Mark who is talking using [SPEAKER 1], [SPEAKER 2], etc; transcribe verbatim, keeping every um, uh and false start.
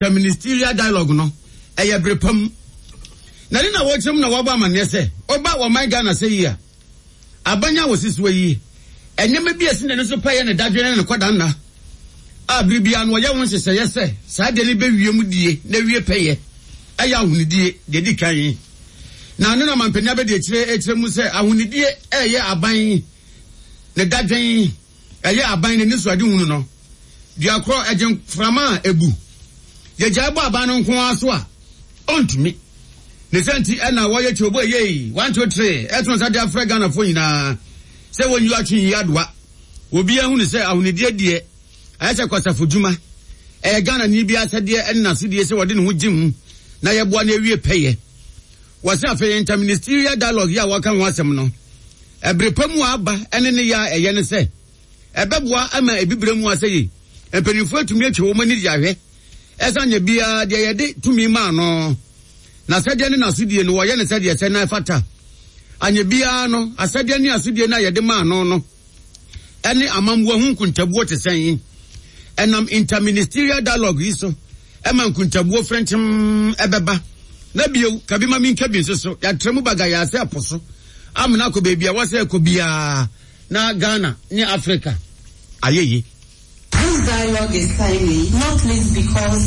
[SPEAKER 1] Interministerial dialogue no ɛyɛ bere pam na ne na wɔkyerɛ mu na wɔabɔ amanneɛ sɛ ɔba wɔman Ghana sɛ yi a aban a wɔsi soɔ yi, nneɛma bi a ɛsi n'ani so pɛyɛ ne dadwene ne ne kɔdanna a bere biara no wɔyɛ ho nhyehyɛeɛ sɛ saa deɛ no bɛwie mu die na wie pɛyɛ ɛyɛ ahonidie deɛ di kan. Na ne na mampanin abɛdi akyire akyerɛ mu sɛ ahonidie ɛyɛ aban ne dadwen, ɛyɛ aban n'ani so ade hunu no duakorɔ ɛgye mframa a ebu yɛgyae bɔ aban no nko ara so a ɔntumi ne sɛ nti ɛna wɔyɛ kyerɛbo ɛyɛ one, two, three ɛto nsa de afrɛ Ghanafoɔ nyinaa sɛ wɔnyi atwe yi adoa. Obiara hunu sɛ ahonidie deɛ ɛyɛ sɛ kwasafo dwuma, ɛyɛ Ghana ni bi asɛdeɛ ɛne n'asodie sɛ wɔde ne ho gye mu na yɛboa no awie pɛyɛ. Wɔsɛ afei interministerial dialogue yi a wɔka ho asɛm no, ɛbere pa mu a aba ɛne ne yɛ a ɛyɛ ne sɛ ɛbɛboa ama ebibire mu asɛ yi mpanimfoɔ atumi atwa wɔn ani de ahwɛ ɛsan nyɛ biara deɛ yɛde tumi maa no na sɛdeɛ ne n'asodie no wɔyɛ ne sɛdeɛ sɛ na ɛfata. Anyɛ biara no, asɛdeɛ ne asodie no a yɛde maa no no ɛne amammoa ho nkuntabuo te sɛn. Ɛnam interministerial dialogue yi so ɛma nkuntabuo frɛnkyɛm ɛbɛba na bio kabi ma minka bi nso so yɛatrɛ mu baga yɛasɛ ɛpo so amena akɔ baabi a wɔsɛ ɛkɔ biara na Ghana ne Africa ayɛ yi.
[SPEAKER 2] This dialogue is timely, not least because